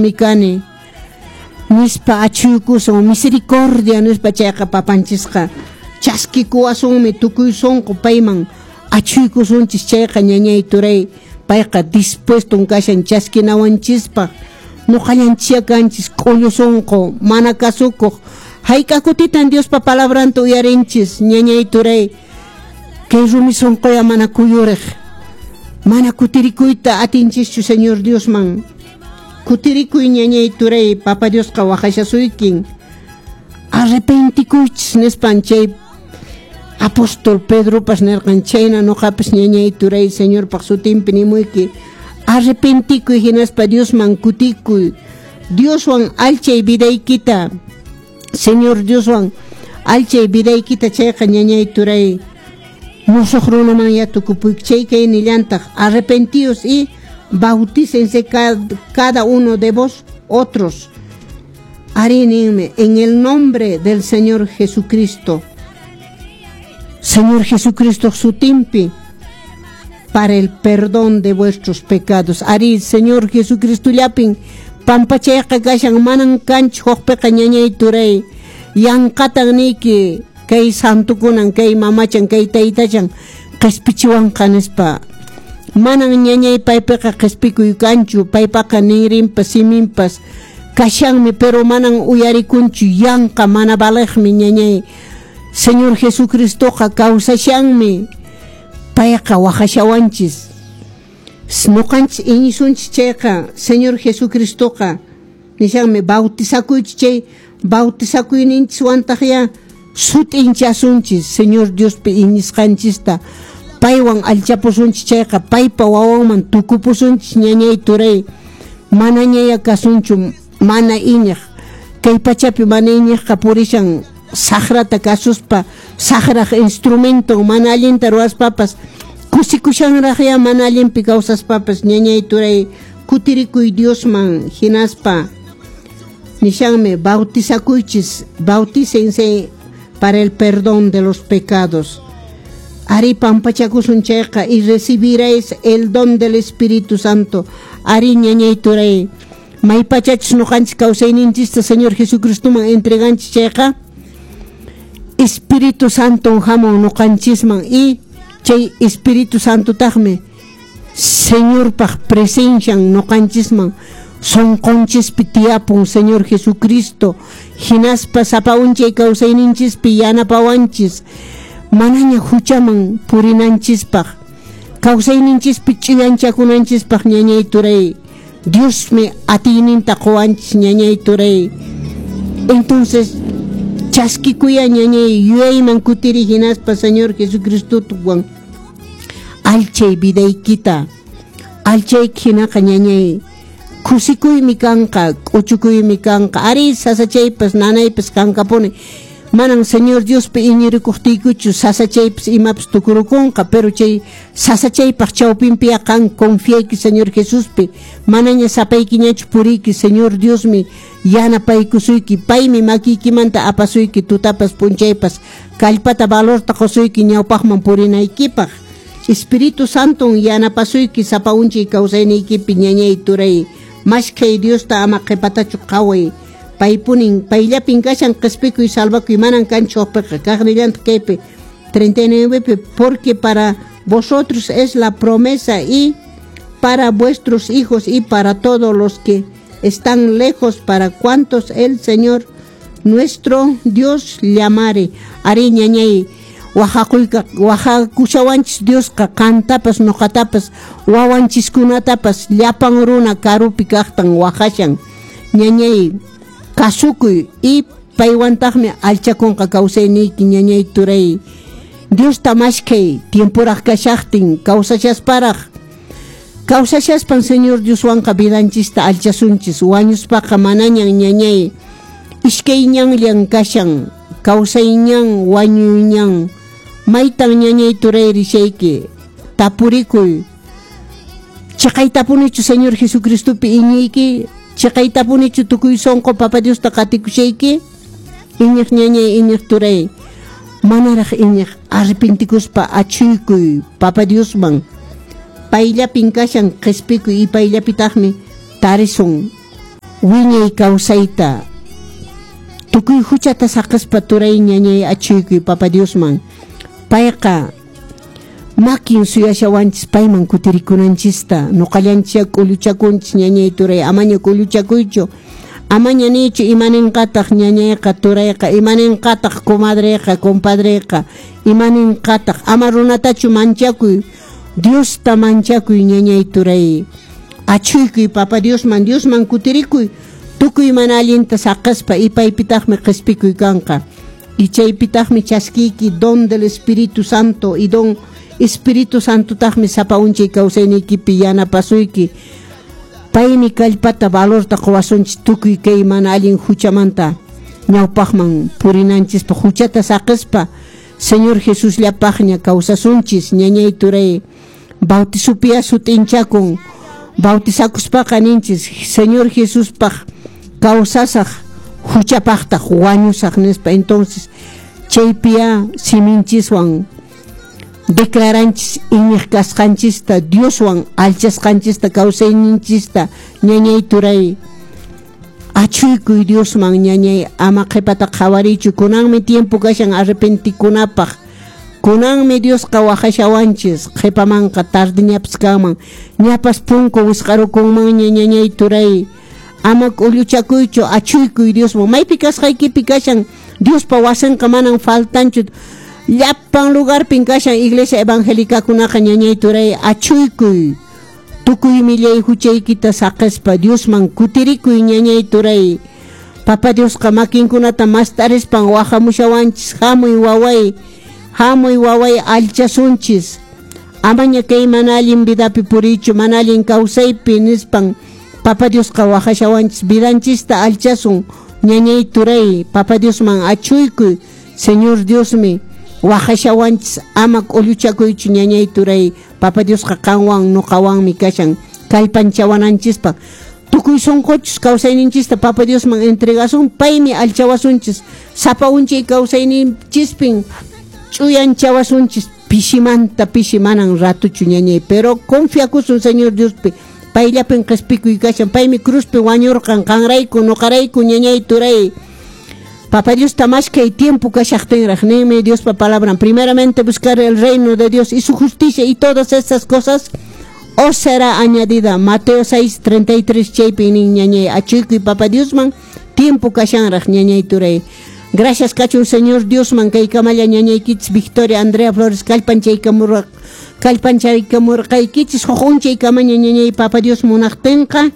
Huchayuqmi kani nispa achuykusun, misericordia nispa chayqa papanchisqa chaskikuwasunmi tukuy sunqu payman achuykusunchis chayqa ñañay turay payqa dispueston kashan chaskinawanchispaq. Nuqallanchia kanchis k'ullu sunqu mana kasukuq hayk'a kutitan Diospa palabranta uyarinchis ñañay turay kay rumi sunquya mana kuyuriq mana kutirikuyta atinchischu Señor Diosman. Kutirikuy ñañay turay Papa Diosqa waqashasuykin arrepentikuychis nispan chay apóstol Pedropas nirqan chayna nuqapas ñañay turay Señorpaq sutinpi nimuyki arrepentikuy hinaspa Diosman kutikuy Dioswan alchay vidaykita Señor Dioswan alchay vidaykita chayqa ñañay turay musuq runaman ya tukupuyki chay kay nillantaq arrepentíos y bautícense cada uno de vos otros. Arí ninmi en el nombre del Señor Jesucristo. Señor Jesucristo sutinpi para el perdón de vuestros pecados. Arí Señor Jesucristo llapin pampachayqa kashan manan kanchu huqpiqa ñañay turay yanqatan niyki kay santukunan kay mamachan kay taytachan qispichiwanqa nispa manan ñañay paypiqa qispikuy kanchu paypaqa ninrinpas siminpas kashanmi pero manan uyarikunchu yanqa mana valeqmi ñañay Señor Jesucristoqa kawsashanmi payqa waqashawanchis nuqanchis iñisunchis chayqa Señor Jesucristoqa nishanmi bautizakuychis chay bautizakuyninchis ya sut'inchasunchis Señor Diospi iñisqanchista paywan alchapusunchis chayqa paypa wawanman tukupusunchis ñañay turay manañaya kasunchu mana iñiq kay pachapi mana iñiqqa purishan saqrata kasuspa saqraq instrumento mana allinta ruwaspapas kusikushanraqya mana allinpi kawsaspapas ñañay turay kutirikuy Diosman hinaspa nishanmi bautizakuychis bautícense para el perdón de los pecados. Ari pampachakusun chayqa y recibiréis el don del Espíritu Santo. Ari ñañay turay maypachachus nuqanchis kawsayninchista Señor Jesucristoman entreganchis chayqa Espíritu Santo hamun nuqanchisman y chay Espíritu Santo taqmi Señorpaq presencian nuqanchisman sunqunchispi tiyapun Señor Jesucristo hinaspa sapa unchay kawsayninchispi yanapawanchis manaña huchaman purinanchispaq kawsayninchispi ch'uyanchakunanchispaq ñañay turay Diosmi atiyninta quwanchis ñañay turay. Entonces chaskikuya ñañay yuyayman kutiri hinaspa Señor Jesucristowan alchay vidaykita alchayki hinaqa ñañay kusikuymi kanqa k'uchukuymi kanqa ari sasachaypas nanaypas kankapuni manan Señor Diospi iñirikuqtiykuchu sasachaypas imapas tukurukunqa pero chay sasachaypaq chawpinpiya qan confiayki Señor Jesuspi manaña sapaykiñachu puriyki Señor Diosmi yanapaykusuyki paymi makiykimanta apasuyki tutapas p'unchaypas kallpata valorta qusuyki ñawpaqman purinaykipaq Espíritu Santo yanapasuyki sapa unchay kawsayniykipi ñañay turay mashkhay Diosta ama qhipatachu qhaway paypunin payllapin kashan qispikuy salvakuy manan kanchu huqpiqa kaqnillantaq kaypi 39 porque para vosotros es la promesa y para vuestros hijos y para todos los que están lejos, para cuantos el Señor nuestro Dios llamare. Ari ñañay waqakuyka waqakushawanchis Diosqa qantapas nuqatapas wawanchiskunatapas llapan runa karupi kaqtan waqashan ñañay kasukuy y paywantaqmi alchakunqa kawsayniyki ñañay turay Diosta mashkhay tiemporaq kashaqtin kawsashasparaq kawsashaspan Señor Dioswanqa vidanchista alchasunchis wañuspaqa manañan ñañay iskay ñanllan kashan kawsay ñan wañuy ñan maytan ñañay turay rishayki tapurikuy chiqaytapunichu Señor Jesucristopi iñiyki chiqaytapunichu tukuy sunqu Papa Diosta qatikushayki iñiq ñañay iñiq turay manaraq iñiq arrepentikuspa achuykuy Papa Diosman payllapin kashan qispikuy y payllapitaqmi tarisun. Wiñay kawsayta tukuy huchata saqispa turay ñañay achuykuy Papa Diosman. Payqa makin suyashawanchis payman kutirikunanchista. Nuqallanchis k'ulluchakunchis ñañay turay, amaña k'ulluchakuychu. Amaña niychu imaninqataq ñañayqa turayqa, imaninqataq comadreqa, compadreqa, imaninqataq. Ama runatachu manchakuy, Diosta manchakuy ñañay turay. Achuykuy Papa Diosman, Diosman kutirikuy. Tukuy mana allinta saqaspa ipaypitaqmi qhispikuy kanqa. Y chaypitaqmi chaskiyki don del Espíritu Santo y don Espíritu Santotaqmi sapa unchay kawsayniykipi yanapasuyki. Paymi kallpata valorta quwasunchis tukuy kay mana allin huchamanta ñawpaqman purinanchispaq huchata saqispa Señor Jesús llapaqña kawsasunchis ñañay turay. Bautizupiya sut'inchakun bautizakuspaqa ninchis Señor Jesuspaq kawsasaq huchapaqtaq wañusaq nispa. Entonces chaypiya siminchiswan declaranchis iñiq kasqanchista Dioswan alchasqanchista kawsayninchista ñañay turay. Achuykuy Diosman ñañay, ama qhipata qhawariychu. Kunanmi tiempo kashan arrepentikunapaq. Kunanmi Diosqa waqashawanchis, qhipamanqa tardiñapas kanman, ñapas punku wisq'arukunmanña ñañay turay. Ama k'ulluchakuychu, achuykuy Diosman. Maypi kasqaykipi kashan Diospa wasinqa manan faltanchu. Llapan lugarpin kashan iglesia evangélicakunaqa ñañay turay. Achuykuy tukuy millay huchaykita saqispa Diosman kutirikuy ñañay turay. Papa Diosqa makinkunata mastarispan waqamushawanchis. Hamuy waway, hamuy waway, alchasunchis. Amaña kay mana allin vidapi puriychu, mana allin kawsaypi nispan Papa Diosqa waqashawanchis. Vidanchista alchasun ñañay turay. Papa Diosman achuykuy. Señor Diosmi waqashawanchis, ama k'ulluchakuychu ñañay turay. Papa Diosqa qanwan nuqawanmi kashan kallpanchawananchispaq. Tukuy sunquchus kawsayninchista Papa Diosman entregasun, paymi alchawasunchis. Sapa unchay kawsayninchispin ch'uyanchawasunchis. Pishimanta pishi manan ratuchu ñañay, pero confiakusun Señor Diospi. Payllapin qhispikuy kashan, paymi cruzpi wañurqan qanrayku nuqarayku ñañay turay. Papa Dios maskhay tiempo kashaqtinraq ninmi Diospa palabran. Primeramente buscar el reino de Dios y su justicia, y todas estas cosas os será añadida. Mateo 6:33 chaypi nin ñañay. Achuykuy Papa Diosman tiempo kashanraq ñañay turay. Gracias kachun Señor Diosman kay kamalla ñañaykichis Victoria Andrea Flores kallpanchaykamurqaykichis huk unchaykamaña ñañay Papa Dios munaqtinqa.